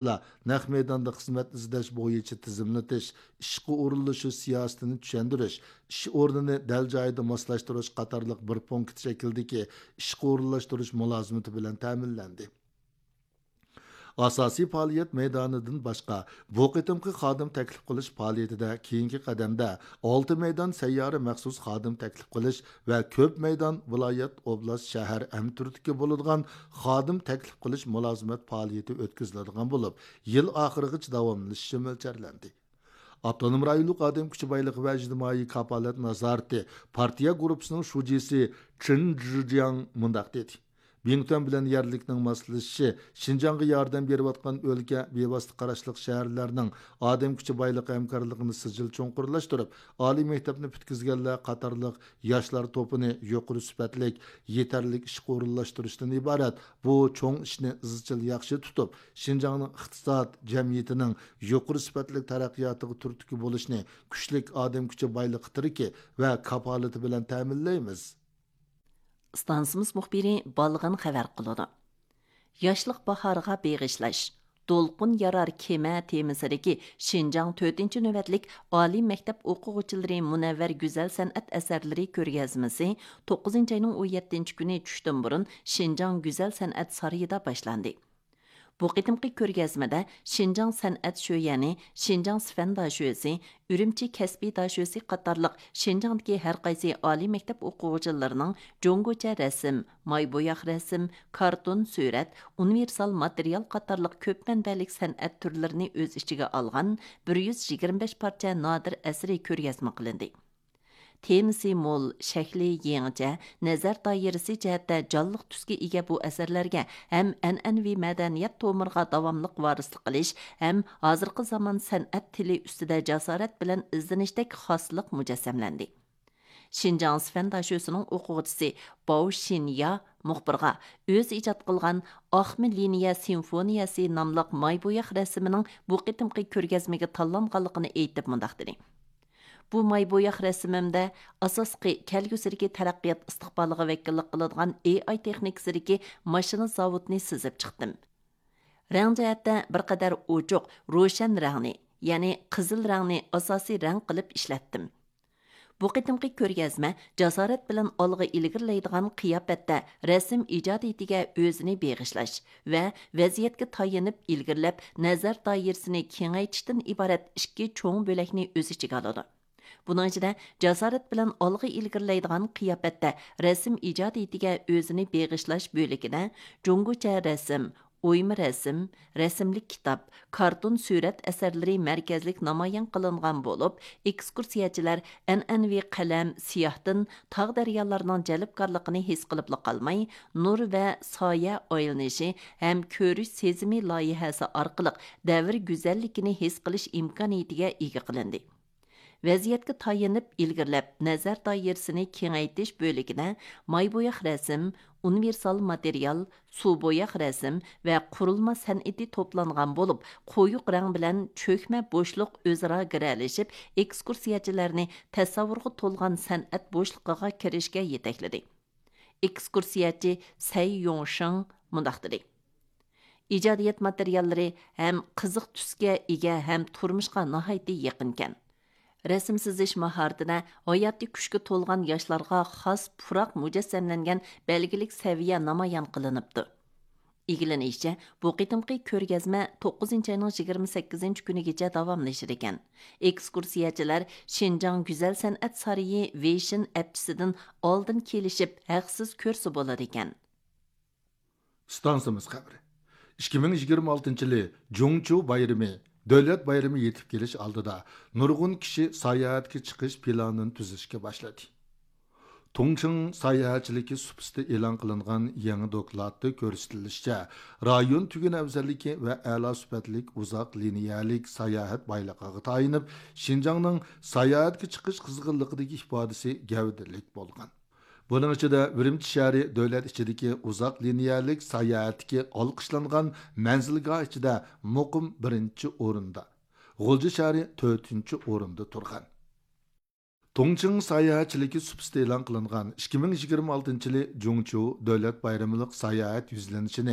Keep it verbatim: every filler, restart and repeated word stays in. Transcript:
نەق مەيداندا خىزمەت ئىزدەش بويىچە تىزىملىتىش، ئىشقا ئورۇنلىشىش سىياسىتىنى چۈشەندۈرۈش، ئىش ئورنىنى دەل جايىدا ماسلاشتۇرۇش قاتارلىق بىر پونكىت شەكلىدىكى ئىشقا ئورۇنلاشتۇرۇش مۇلازىمىتى بىلەن تەمىنلەندى. ئاساسىي پائالىيەت مەيدانىدىن باشقا، بۇ قېتىمقى خادىم تەكلىپ قىلىش پائالىيىتىدە كېيىنكى قەدەمدە ئالتە مەيدان سەييارە مەخسۇس خادىم تەكلىپ قىلىش ۋە كۆپ مەيدان ۋىلايەت، ئوبلاست، شەھەر ھەمتۈرتكە بولىدىغان خادىم تەكلىپ قىلىش مۇلازىمەت پائالىيىتى ئۆتكۈزۈلىدىغان بولۇپ، يىل ئاخىرىغىچە داۋاملىشىشى مۆلچەرلەندى. ئاپتونوم رايونلۇق ئادەم كۈچى بايلىقى ۋە ئىجتىمائىي كاپالەت نازارىتى پارتىيە گۇرۇپپىسىنىڭ شۇجىسى چېن جىجياڭ مۇنداق دېدى: بىڭتۈەن بىلەن يەرلىكنىڭ ماسلىشىشى، شىنجاڭغا ياردەم بېرىۋاتقان ئۆلكە، بىۋاسىتە قاراشلىق شەھەرلەرنىڭ ئادەم كۈچى بايلىقى ھەمكارلىقىنى سىجىل چوڭقۇرلاشتۇرۇپ، ئالىي مەكتەپنى پۈتكۈزگەنلەر قاتارلىق ياشلار توپىنى يۇقىرى سۈپەتلىك، يېتەرلىك ئىشقا ئورۇنلاشتۇرۇشتىن ئىبارەت بۇ چوڭ ئىشنى ئىزچىل ياخشى تۇتۇپ، شىنجاڭنىڭ ئىقتىساد، جەمئىيىتىنىڭ يۇقىرى سۈپەتلىك تەرەققىياتىغا تۈرتكە بولۇشنى كۈچلۈك ئادەم كۈچى بايلىقى تىرىكى ۋە كاپالىتى بىلەن تەمىنلەيمىز. ئىستانسىمىز مۇخبىرى بالغىن خەۋەر قىلىدۇ. ياشلىق باھارىغا بېغىشلاش، دولقۇن يارار كېمە تېمىسىدىكى شىنجاڭ تۆتىنچى نۆۋەتلىك ئالىي مەكتەپ ئوقۇغۇچىلىرى مۇنەۋۋەر گۈزەل سەنئەت ئەسەرلىرى كۆرگەزمىسى توققۇزىنچى ئاينىڭ ئون يەتتىنچى كۈنى چۈشتىن بۇرۇن شىنجاڭ گۈزەل سەنئەت سارىيىدا باشلاندى. بۇ قېتىمقى كۆرگەزمىدە شىنجاڭ سەنئەت شۆيەنى، شىنجاڭ سىفەن داشۆسى، ئۈرۈمچى كەسپىي داشۆسى قاتارلىق شىنجاڭدىكى ھەر قايسى ئالىي مەكتەپ ئوقۇغۇچىلىرىنىڭ جۇڭگوچە رەسىم، ماي بوياق رەسىم، كارتون سۈرەت، ئۇنىۋېرسال ماتېرىيال قاتارلىق كۆپ مەنبەلىك سەنئەت تۈرلىرىنى ئۆز ئىچىگە ئالغان بىر يۈز يىگىرمە بەش پارچە نادىر ئەسىرى كۆرگەزمە قىلىندى. تېمىسى مول، شەكلى يېڭىچە، نەزەر دائىرىسى جەھەتتە جانلىق تۈسكە ئىگە بۇ ئەسەرلەرگە ھەم ئەنئەنىۋى مەدەنىيەت تومۇرىغا داۋاملىق ۋارىسلىق قىلىش ھەم ھازىرقى زامان سەنئەت تىلى ئۈستىدە جاسارەت بىلەن ئىزدىنىشتەك خاسلىق مۇجەسسەملەندى. شىنجاڭ سىفەن داشۆسىنىڭ ئوقۇغۇچىسى باۋ شىنيا مۇخبىرغا ئۆزى ئىجاد قىلغان ئاقمە لىنىيە سىمفونىيەسى ناملىق ماي بوياق رەسىمىنىڭ بۇ قېتىمقى كۆرگەزمىگە تاللانغانلىقىنى ئېيتىپ مۇنداق دېدى: بۇ ماي بوياق رەسىمىمدە ئاساسلىقى كەلگۈسىدىكى تەرەققىيات ئىستىقبالىغا ۋەكىللىك قىلىدىغان ئېي ئاي تېخنىكىسىدىكى ماشىنا زاۋۇتىنى سىزىپ چىقتىم. رەڭ جەھەتتە بىر قەدەر ئوچۇق، روشەن رەڭنى، يەنى قىزىل رەڭنى ئاساسىي رەڭ قىلىپ ئىشلەتتىم. بۇ قېتىمقى كۆرگەزمە جاسارەت بىلەن ئالغا ئىلگىرىلەيدىغان قىياپەتتە رەسىم ئىجادىيىتىگە ئۆزىنى بېغىشلاش ۋە ۋەزىيەتكە تايىنىپ ئىلگىرىلەپ، نەزەر دائىرىسىنى كېڭەيتىشتىن ئىبارەت ئىككى چوڭ بۆلەكنى ئۆز ئىچىگە ئالىدۇ. بۇنىڭ ئىچىدە جاسارەت بىلەن ئالغا ئىلگىرىلەيدىغان قىياپەتتە رەسىم ئىجادىيىتىگە ئۆزىنى بېغىشلاش بۆلىكىدە جۇڭگوچە رەسىم، ئويما رەسىم، رەسىملىك كىتاب، كارتون سۈرەت ئەسەرلىرى مەركەزلىك نامايان قىلىنغان بولۇپ، ئېكسكۇرسىيەچىلەر ئەنئەنىۋى قەلەم، سىياھتىن تاغ دەريالارنىڭ جەلپكارلىقىنى ھېس قىلىپلا قالماي، نۇر ۋە سايە ئايلىنىشى ھەم كۆرۈش سېزىمى لايىھەسى ئارقىلىق دەۋر گۈزەللىكىنى ھېس قىلىش ئىمكانىيىتىگە ئىگە قىلىندى. ۋەزىيەتكە تايىنىپ ئىلگىرىلەپ، نەزەر دائىرىسىنى كېڭەيتىش بۆلىكىدە ماي بوياق رەسىم، ئۇنىۋېرسال ماتېرىيال، سۇ بوياق رەسىم ۋە قۇرۇلما سەنئىتى توپلانغان بولۇپ، قويۇق رەڭ بىلەن چۆكمە بوشلۇق ئۆزئارا گىرەلىشىپ، ئېكسكۇرسىيەچىلەرنى تەسەۋۋۇرغا تولغان سەنئەت بوشلۇقىغا كىرىشكە يېتەكلىدى. ئېكسكۇرسىيەچى سەي يوڭشېڭ مۇنداق دېدى: ئىجادىيەت ماتېرىياللىرى ھەم قىزىق تۈسكە ئىگە ھەم تۇرمۇشقا ناھايىتى يېقىنكەن. رەسىم سىزىش ماھارىتىدە ھاياتىي كۈچكە تولغان ياشلارغا خاس پۇراق مۇجەسسەملەنگەن بەلگىلىك سەۋىيە نامايان قىلىنىپتۇ. ئىگىلىنىشىچە، بۇ قېتىمقى كۆرگەزمە توققۇزىنچى ئاينىڭ يىگىرمە سەككىزىنچى كۈنىگىچە داۋاملىشىدىكەن. ئېكسكۇرسىيەچىلەر شىنجاڭ گۈزەل سەنئەت سارىيى ۋېيشىن ئەپچىسىدىن ئالدىن كېلىشىپ ھەقسىز كۆرسە بولىدىكەن. ئىستانسىمىز خەۋىرى. ئىككى مىڭ يىگىرمە ئالتىنچى يىلى جۇڭچۇ بايرىمى، دۆلەت بايرىمى يېتىپ كېلىش ئالدىدا، نۇرغۇن كىشى ساياھەتكە چىقىش پىلانىنى تۈزۈشكە باشلىدى. تۇڭچىڭ ساياھەتچىلىكى سۇپىسىدا ئېلان قىلىنغان يېڭى دوكلاتتا كۆرسىتىلىشىچە، رايون تۈگۈن ئەۋزەللىكى ۋە ئەلا سۈپەتلىك ئۇزاق لىنىيەلىك ساياھەت بايلىقىغا تايىنىپ، شىنجاڭنىڭ ساياھەتكە چىقىش قىزغىنلىقىدىكى ئىپادىسى گەۋدىلىك بولغان. بۇنىڭ ئىچىدە ئۈرۈمچى شەھىرى دۆلەت ئىچىدىكى ئۇزاق لىنىيەلىك ساياھەتتىكى ئالقىشلانغان مەنزىلگاھ ئىچىدە مۇقىم بىرىنچى ئورۇندا، غۇلجا شەھىرى تۆتىنچى ئورۇندا تۇرغان. تۇڭچىڭ ساياھەتچىلىكى سۇپىسىدا ئېلان قىلىنغان ئىككى مىڭ يىگىرمە ئالتىنچى يىلى جۇڭچۇ دۆلەت بايرىملىق ساياھەت يۈزلىنىشىنى